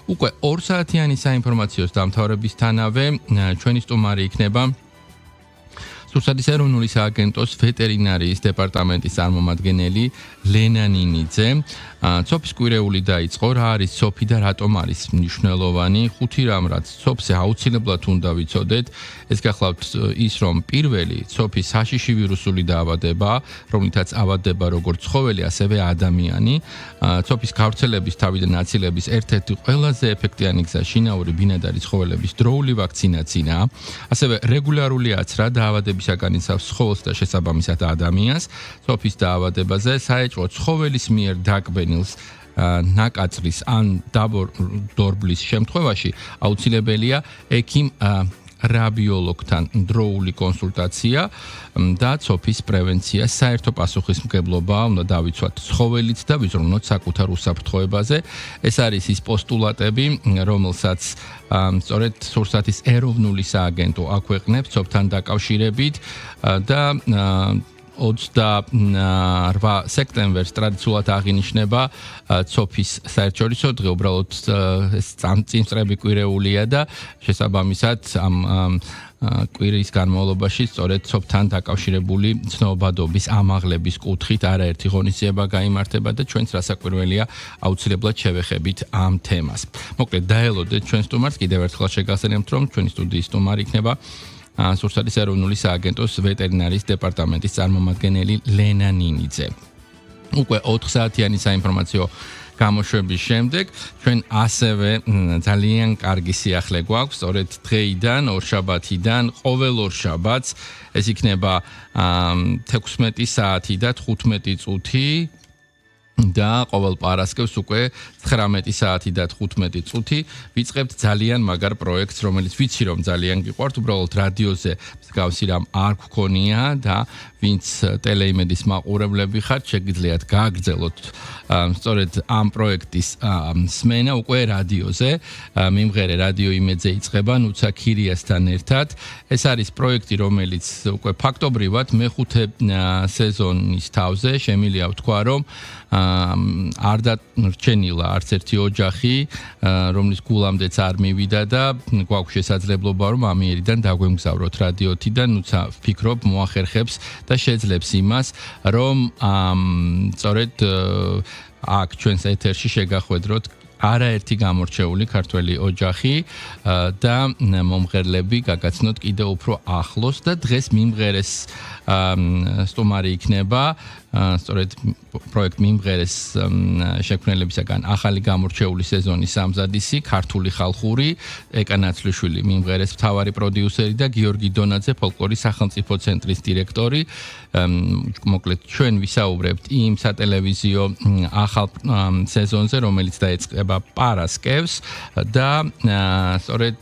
უკვე 2 საათიანი საინფორმაციო დამთავრებისთანავე ჩვენი სტუმარი იქნება სურსათის ეროვნული სააგენტოს ვეტერინარიის დეპარტამენტის წარმომადგენელი ლენა ნინიძე. ცოფის კვირეული დაიწყო, რა არის ცოფი და რატომ არის მნიშვნელოვანი? 5 რამ რაც ცოფზე აუცილებლად უნდა ვიცოდეთ. ეს გახლავთ ის, რომ პირველი ცოფის საშიში ვირუსული დაავადება, რომლითაც ავადდება როგორც ცხოველი, ასევე ადამიანი. ცოფის გავრცელების თავიდან აცილების ერთ-ერთი ყველაზე ეფექტიანი გზა შინაური ბინადარი ცხოველების დროული ვაქცინაციაა. ასევე რეგულარული აცრა დაავადებისაგან იცავს ცხოველს და შესაბამისად ადამიანს. ცოფის დაავადებაზე საეჭვო ცხოველის მიერ დაკბენილს ნაკაწრის ან დაბორბლის შემთხვევაში აუცილებელია ექიმ რაბიოლოგთან დროული კონსულტაცია და ცოფის პრევენცია. საერთო პასუხისმგებლობა უნდა დავიცვათ ცხოველით და ვიზრუნოთ საკუთარ უსაფრთხოებაზე. ეს არის ის პოსტულატები, რომელსაც სწორედ სურსათის ეროვნული სააგენტო აქვეყნებს ცოფთან დაკავშირებით და 28 სექტემბერს ტრადიციულად აღინიშნება ცოფის საერთაშორისო დღე. უბრალოდ ეს წამწინწრები კვირეულია და შესაბამისად ამ კვირის განმავლობაში სწორედ ცოფთან დაკავშირებული ცნობადობის ამაღლების კუთხით არაერთი ღონისძიება გაიმართება და ჩვენც რასაკვირველია აუცილებლად შევეხებით ამ თემას. მოკლედ დაელოდეთ ჩვენ სტუმარს, კიდევ ერთხელ შეგახსენებთ, რომ ჩვენი სტუდიის სტუმარი იქნება სურსათის ეროვნული სააგენტოს ვეტერინარიის დეპარტამენტის წარმომადგენელი ლენა ნინიძე. უკვე 4 საათიანი საინფორმაციო გამოშვების შემდეგ ჩვენ ასევე ძალიან კარგი სიახლე გვაქვს, სწორედ დღეიდან, ორშაბათიდან, ყოველ ორშაბათს ეს იქნება 16 საათი და 15 წუთი და ყოველ პარასკევს უკვე 19 საათი და 15 წუთი ვიწყებთ ძალიან მაგარ პროექტს, რომელიც ვიცი რომ ძალიან გიყვართ, უბრალოდ რადიოზე მსგავსი რამ არ გქონია და ვინც ტელეიმედის მაყურებლები ხართ, შეგიძლიათ გააგრძელოთ სწორედ ამ პროექტის სმენა უკვე რადიოზე. მიმღერე რადიო იმედზე იწყება ნუცა ქირიასთან ერთად. ეს არის პროექტი, რომელიც უკვე ფაქტობრივად მეხუთე სეზონის თავზე შემიძლია ვთქვა, რომ არ დარჩენილა არც ერთი ოჯახი, რომლის გულამდეც არ მივიდა და გვაქვს შესაძლებლობა, რომ ამიერიდან დაგვემგზავროთ რადიოთი და ნუცა ვფიქრობ მოახერხებს და შეძლებს იმას, რომ სწორედ აქ ჩვენს ეთერში შეგახვედროთ არაერთი გამორჩეული ქართველი ოჯახი და მომღერლები გაგაცნოთ კიდევ უფრო ახლოს და დღეს მიმღერეს სტუმარი იქნება სწორედ პროექტ მიმღერეს შექმნელებისაგან ახალი გამორჩეული სეზონის სამზადისი ქართული ხალხური ეკა ნაცვლიშვილი მიმღერეს მთავარი პროდიუსერი და გიორგი დონაძე ფოლკლორის სახელმწიფო ცენტრის დირექტორი. მოკლედ ჩვენ ვისაუბრებთ იმ სატელევიზიო ახალ სეზონზე, რომელიც დაიწყება პარასკევს და სწორედ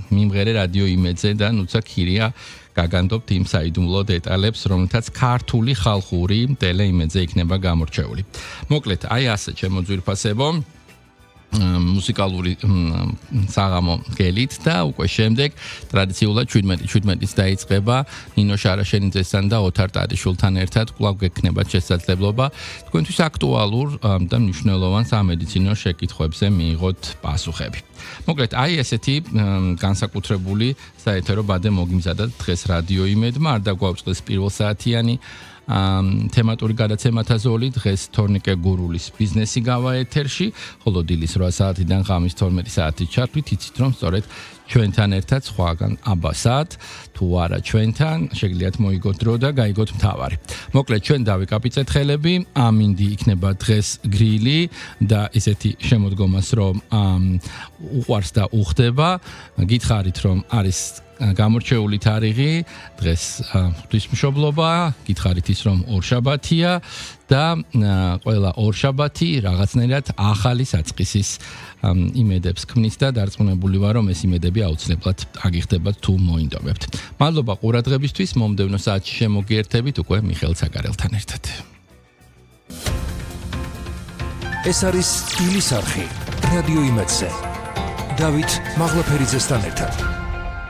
მიმღერე რადიო იმედზე და ნუცა ქირია გაგანდობთ იმ საიდუმლო დეტალებს, რომელთაც ქართული ხალხური ტელეიმედზე იქნება გამორჩეული. მოკლედ, აი ასე ჩემო ძვირფასებო, მუსიკალური საღამო გელით და უკვე შემდეგ ტრადიციულად 17-ից დაიწყება ნინო შარაშენიძესთან და ოთარ ტარიშვილთან ერთად კვლავ გექნებათ შესაძლებლობა თქვენთვის აქტუალურ და მნიშვნელოვან სამედიცინო შეკითხვებზე მიიღოთ პასუხები. მოკლედ, აი ესეთი განსაკუთრებული საეთერო ბადე მოგიმზადათ დღეს რადიო იმედმა, არ დაგვაუწყდეს პირველ საათიანი თემატური გადაცემათა ზოლი. დღეს თორნიკე გურულის ბიზნესი გავა ეთერში, ხოლო დილის 8 საათიდან ღამის 12 საათით ჩართვით, იცით რომ სწორედ ჩვენთან ერთად სხვაგან აბასად, თუ არა ჩვენთან, შეგიძლიათ მოიგოთ დრო და გაიგოთ მთავარი. მოკლედ, ჩვენ დავიკაპიცეთ ხელები, ამინდი იქნება დღეს გრილი და ესეთი შემოდგომას, რომ უყვარს და უხდება. გითხარით, რომ არის გამორჩეული თარიღი, დღეს ღვთისმშობლობა, გითხარით ის, რომ ორშაბათია და ყველა ორშაბათი რაღაცნაირად ახალი საწყისის იმედებს ქმნის და დარწმუნებული ვარ, რომ ეს იმედები აუცილებლად აგიხდებათ თუ მოინდომებთ. მადლობა ყურადღებისთვის, მომდევნო საათში შემოგიერთებით უკვე მიხეილ ცაგარელთან ერთად. ეს არის სტილის არხი რადიო იმედზე. დავით მაღლაფერიძესთან ერთად.